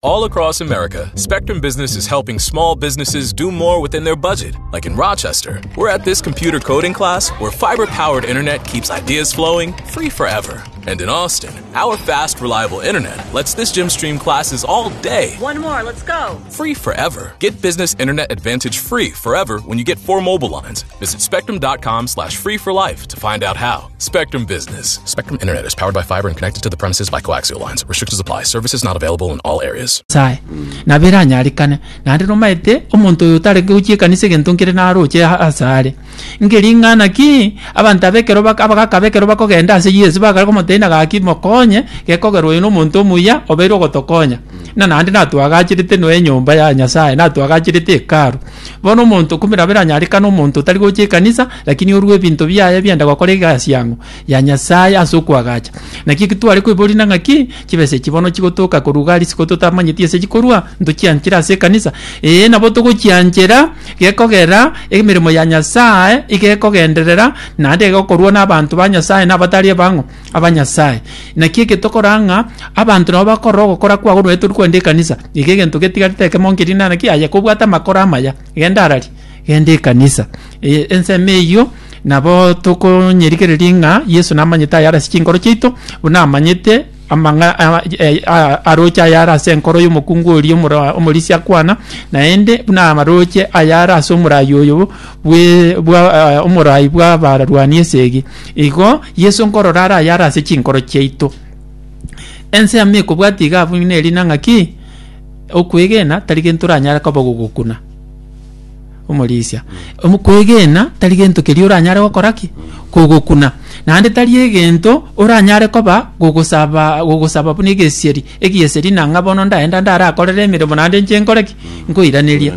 All across America, Spectrum Business is helping small businesses do more within their budget. Like in Rochester, we're at this computer coding class where fiber powered internet keeps ideas flowing free forever. And in Austin, our fast, reliable internet lets this gym stream classes all day. One more, let's go. Free forever. Get business internet advantage free forever when you get four mobile lines. Visit spectrum.com slash free for life to find out how. Spectrum Business. Spectrum Internet is powered by fiber and connected to the premises by coaxial lines. Restrictions apply. Services not available in all areas. Nyasae, nabo eranyarekane. Naende nomaete omonto oyo otarenge gochia ekanisa egento nkere naroche asare. Nge ring'ana ki abanto aba ekero bak abagaka aba ekero bakogenda ase Yeso bagare komotebia ng'a gaki mokonye, gekogera oyo nomonto omuya obeire ogotokonya. Na naende natwagacherete nonya enyomba ya Nyasae, natwagacherete hekalu. Bono omonto kumbe nabo eranyarekane omonto otari gocha ekanisa, lakini orue ebinto biaye biaenda gokora egasi yang'o? Ya Nyasae ase okoagacha. Naki eki tware koiborina ng'aki, chibesa echi bono chigotoka korwa iga risiko totamanyeti ase chikorwa, ntochianchera ase ekanisa? Ee nabo togochianchera, gekogera emeremo ya Nyasae iga ekogenderera, naende egokorwa na abanto ba Nyasae na abatari abang'o? Abanyasae. Naki eke tokora ng'a abanto nabo bakorora ogokora kwago nonya tori kogenda ekanisa, iga egento getigarete ekemo nkeria ng'a naki aye kobwate amakoro amaya, genda arari, genda ekanisa. Ensemo eyio nabo tokonyerigereria ng'a Yeso namanyete ayare ase chinkoro chiaito, buna amanyete amang'a aroche ayare ase enkoro y'omokungu oria omoro omorisia akwana, naende buna aroche ayare ase omorai oyo bwe bwa omorai bw'abarwani esegi. Igo Yeso nkorora are ayare ase chinkoro chiaito. Ensemo ekobwatia iga abwo neri na ng'aki, okwegena tari gento oranyare koba gogokuna omorisia. Okwegena tari gento keria oranyare gokora ki? Kogokuna. Naende tari egento oranyare koba gogosaba gogosaba buna egesieri, egieseri nang'a bono ndaenda ndarakorere emeremo naende inche nkore ki? Nkoiraneria.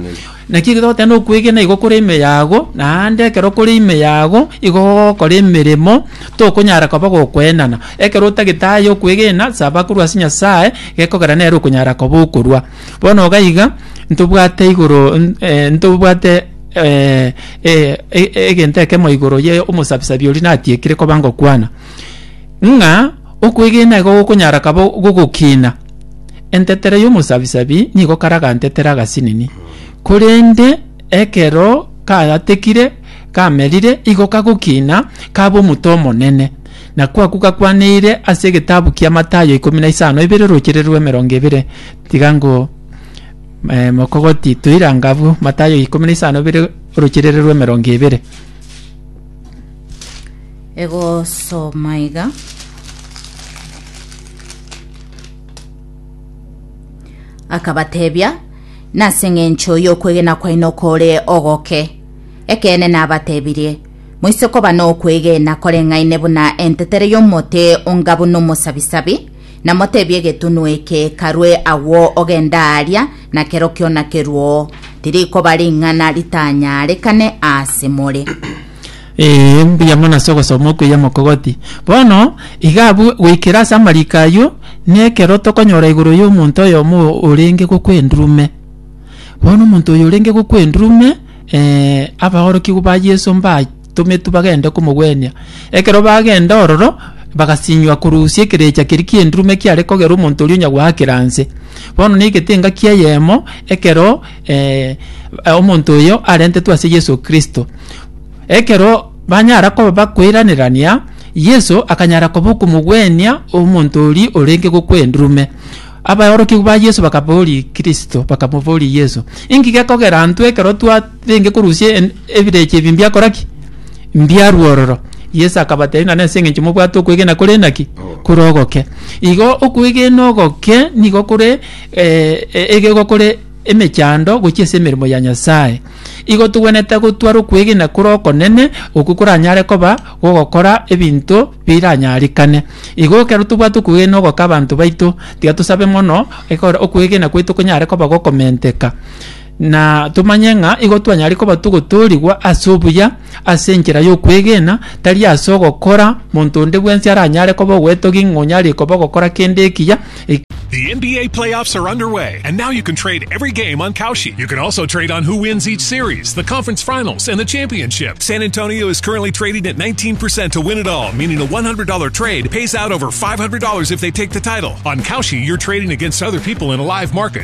Naki ekero togoteba na okwegena igo kore ime yago, naende ekero kore ime yago, igo gogokora emeremo, tokonyara koba gokoenana. Ekero otagete aye okwegena, saba korwa ase Nyasae, gekogera nere okonyara koba okorua. Bono iga iga, ntobwate igoro ntobwate egento ekemo igoro ya omosabisabi oria natiekire koba ngokwana, ng'a okwegena igo gokonyara kaba gogokina. Entetere y'omosabisabi nigo karagantetere agasinini, korende ekero kayatekire kamerire, igo kagokina kaba omote omonene. Nakwo akwo gakwaneire ase egetabu kia Matayo ikomi na isano ibere rochere rw'emerongo ebere. Tiga ngo eh, mokogoti toirange abwo Matayo ikomi na isano ibere orocherere rw'emerongo ebere. Egosoma iga. Akabatebia, Nase engencho y'okwegena kwaino kore ogoke. Ekeene nabatebirie, moise koba nokwegena koreng'aine buna entetere y'omote onga buna omosabisabi, na motebie egetunwa eke, Karue agwo ogende aaria, na kerokio nakeruo, tirikoba ring'ana ritanyarekane ase more. Ee, mbuya mono ase ogosoma okuya mokogoti. Bono, iga abwo goikera ase amariko ayio, nekero tokonyora igoro y'omonto oyomo orenge gokwa endurume. Bono omonto oyo orenge gokwa endurume, abaorokigwa ba Yeso mbatometwe bagende komogwenia. Ekero bagenda ororo, bagasinywa korusia ekerecha keria ki'endurume kiare kogera omonto oria onya goakera nse. Bono neigete engaki eyemo, ekero omonto oyo arentetwe ase Yeso Kristo. Ekero banyara koba bakoiranerania, Yeso akanyara koba okomogwenia omonto oria orenge gokwa endurume. Abaorokigwa ba Yeso bakaboria Kristo, bakamoboria Yeso, Inki gekogera intwe ekero twarenge korusia en- ebirecha ebi mbiakora ki? Mbiarwa ororo. Yeso akabatebia ng'a nase eng'encho mobwate okwegena kore naki? Kore ogoke. Igo okwegena ogoke nigo kore egego kore emechando gochia ase emeremo ya Nyasae. Igo togwenerete gotwara okwegena kore okonene, okwo koranyare koba gogokora ebinto biranyarekane. Igo ekero tobwate okwegena ogoka abanto baito, tiga tosabe mono ekero okwegena gwaito konyare koba gokomenteka. Na tomanye ng'a igo twanyare koba togotoorigwa ase obuya, ase enchera y'okwegena, tari ase ogokora, monto onde bwensi aranyare koba ogwetogia ng'a onyarire koba ogokora kende ekiya. The NBA playoffs are underway, and now you can trade every game on Kalshi. You can also trade on who wins each series, the conference finals, and the championship. San Antonio is currently trading at 19% to win it all, meaning a $100 trade pays out over $500 if they take the title. On Kalshi, you're trading against other people in a live market.